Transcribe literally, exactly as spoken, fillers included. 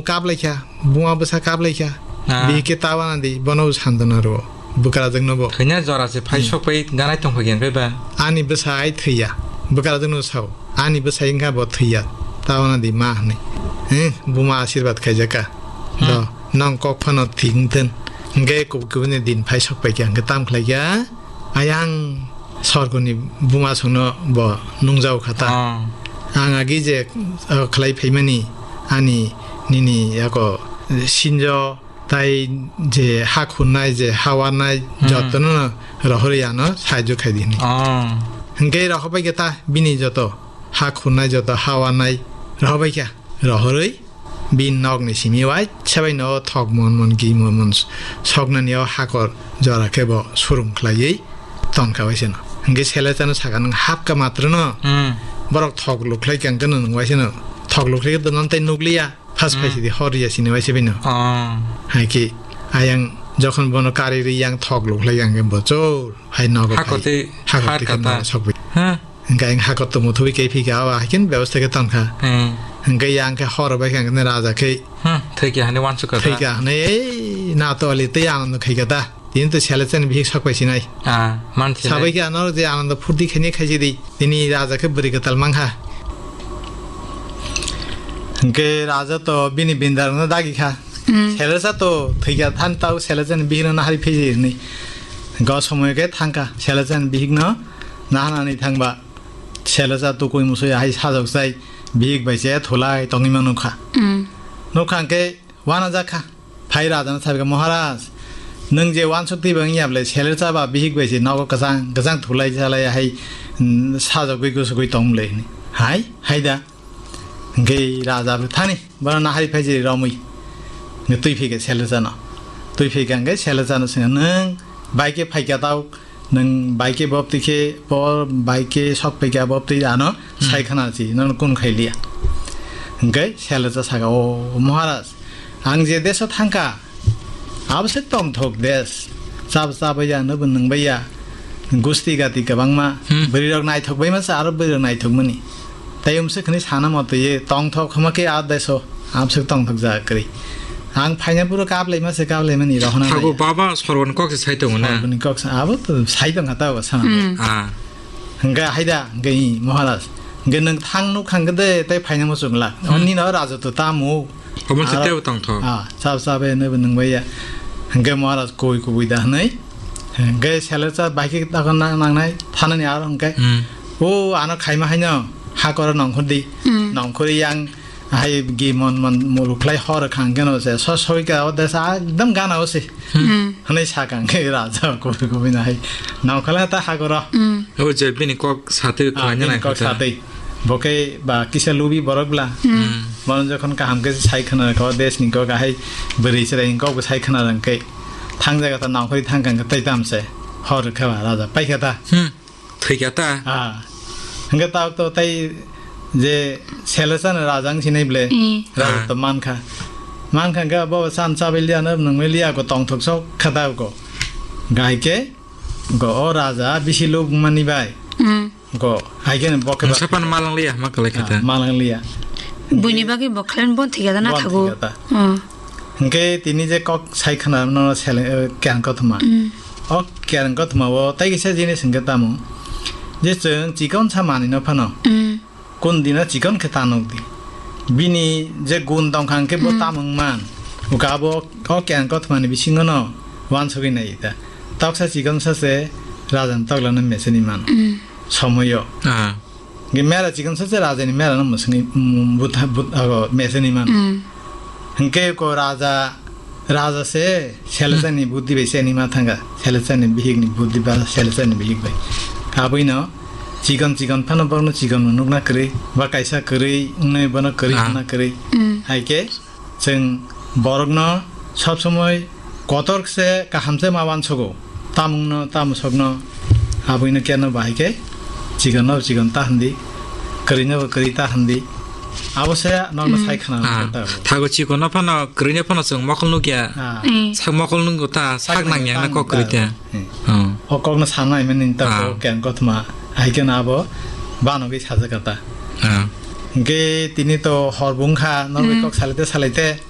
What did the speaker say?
Kaplaikha, buma bwsa kaplaikha. Ah. Bihik khe ta wana di, bono bo santona rwo. Bwkrajwkno bo. Thwina jora se phai Hmm. sok pai ganai tong phai gen phai ba. Ani bwsa ai thwiya. Bwkrajwkno sao. Ani bwsa wngkha bo thwiya. Ta wana di ma hwnwi. Eh, buma asirwad khaijaka. Hmm. Do, nong kok phano thik wngthun. Hwnkhe kub-, kubuni din phai sok paikha, hwnkhe tam khlaikha. Ayang sorgoni buma songno bo nungjago kha ta. Oh. Ang agi je, uh, khlai phaimani ani nini yako sinjo tai je ha khunnai je ha warnai Hmm. jotono rohorwi ano saijo khai di hwnwi. Oh. Hwnkhe rohorbai khe ta bini joto ha khunnai joto ha warnai rohorbai kha. Rohorwi bini nokni simi waisa bai no thok mon mon gi mon mon soknani o hakor jora khe bo surum khlaiwi tonkha waisa no. Hwnkhe Selechano sakha, "Nwng hapkha matro no, Hmm. borok thok lukhlai kha, hwnkhe no nwng waisa no thok lukhlai khe dono tei nukliya, phas Hmm. phaisidi hor ya sini waisa bai no." Oh. Hai khe ayang jokhon bono kari ri yang thok lukhlai kha, hwnkhe bo chol hai nogo Hakor phai. tei Hakor har tei khe kata. nogo sokbai. Ha? Hwnkhe ang hakor tongmo thubui khe phika, o hai khe bebostha khe tongkha. Hmm. Hwnkhe yang khe hor bai khe ang khe raja khe Hmm, thwi khe hani wansuk kha thwi ta. kha hwnwi, "Ei, na to ali tei ang no khai kha ta." Tini to Selechani bihik sak pai sinai. Ah, man sinai. Sabai khe ano je Anando phurti khaini khaisi di. Tini raja khe bwrwi kwtal mankha. Hwnkhe raja to bini bindarokno dagi kha. Hmm. Selecha to thwi kha than tau Selechani bihikno nahari phiji hwnwi. Hwnkhe o somoyo khe thangkha Selechani bihikno nahanani thangba. Selecha tukui musui hai sajok sai bihik bai se thulai tongwi ma nukha. Mm. Nukha hwnkhe wana jakha. Phai rajano sabi kha, "Maharaj, nwng je wansuk twi bang ya ble Selecha ba bihik bai se nogo kwchang kwchang thulai salai hai, mm, sajogwi gusugwi tong ble," hwnwi. "Hai, hai da." Hwnkhe raja bo thani bono nahari phai je romwi. Hwnkhe twi phikha Selechano. Twi phikha hwnkhe Selechano swngkha, "Nwng bai khe phaikha tau?" Nwng bai khe boptwi khe, bo bai khe sok pai kha, boptwi ano Hmm. sai khna si, nono kun khai liya. Hwnkhe Selecha saka, "O Maharaj, ang je deso thangkha, abo se tongthok des. Chab chabai ya, nwbo nungbai ya. Gusti gati kwbangma, Hmm. bwrwi rok naithok bai ma se, aro bwrwi rok naithok mani." Tai umswk hwnwi sana motwi ye tongthok hwma khe a deso amswk tongthok ja kwrwi. Ang phaina puro kaplaima se kaplaimani rohorna Thago naiya. Baba sorgoni kok se sai tongo na? Sorgoni kok se abo to sai tongkha ta bo sana. Hmm. Ah. Hwnkhe haida hwnkhe i Maharaj. Hwnkhe nwng thang nuk hwnkhe de tei phaina muchung la. Hmm. Oni no raja to tamo. Omo se Aro tebo tongthok. Ah, chab chabe nwbo nungbai ya. Hwnkhe Maharaj koi kubui da hwnwi. Hwnkhe Selecha bai khe takon nang-, nangnai thanani aro hwnkhe. Hmm. O ano khaima haino hakoro nongkhor di. Hmm. Nongkhor yang hai gi mon mon muluk khlai hor khang keno se so soi ka o desa ekdam gana o se. Hmm. Hwnwi sakang khe raja kubui kubui na hai. Nongkhor ta hakoro. Hmm. O je bini kok satwi Ah, khlaina bini nai kok khe ta. Satwi. Bo khe ba kisa lubi borok bla. Hmm. Hmm. Bono jokhon kaham khe sai khna kho, desni kok ahai bwrwi chwrai kok bo sai khna rang khe. Thang jaga ta nongkhorwi thang kang khe tei tam se. Hor khe ba raja pai kha ta. Hmm. Thwi kha ta. Ah. Hwnkhe ta to tei je Selecha no raja wng sinai ble. Hmm. Raja Ah. to man kha. Man kha hwnkhe bo san chabai liya no nungbai liya ko tongthok sok kha ta ko. Gai khe go o raja bisi lubung mani bai. Hmm. Go, hai khe bo khe Mungsa ba pan malang liya, ma kalai kha ta. Ah, malang liya. Buini bagwi bo khlai bon thik ya da na Bon thago. thik ya da. Hmm. Hwnkhe tini je kok sai khna no sele, eh, kyan kothoma. Hmm. O kyan kothoma o tai kisa jinis hwnkhe tamo. Je chwng chikon sa mani no phano. Hmm. Kun dina chikon khe ta nuk di. Bini je gun tong kha hwnkhe bo Hmm. tamung man. Uka bo o kyan kothoma ni bisingo no wansugwi nai ta. Toksa chikon sa se raja ni tokla no meseni man. Hmm. Somoyo. Ah. Ge mera chikon sa se raja ni mera no musuni, mm, but, but, ago, meseni man. Mm. Hingke ko raja, raja se, Selesa ni buddhi bai se ni ma thanga. Selesa ni bihik ni buddhi ba, Selesa ni bihik bai. Abui no, chikon chikon phano borno chikon no nukna kwrwi, ba kaisa kwrwi, wngnai bono kwrwi Ah. hwnna kwrwi. Mm. Hai ke, Chwng borokno sob somoi kotor se kaham se ma uansugo. Tamungno, tamusokno, abuino keno bahai khe chikonno chikon ta hwndi, kwrwino bo kwrwi ta hwndi. Abo se nokno Hmm. sai khna Ah, ta. Thago chikonno phano, kwrwino phano chwng mokol nukya. Ah. Hmm. Sak mokol nukgo ta, sak nangya na kok kwrwi ta. Hmm. Oh. O kokno sanai mani ta Ah. ko keng kothoma. Hai khe na abo banogwi sajak ta. Ah. Hingke tini to hor bung kha, norok Hmm. kok salai te salai te.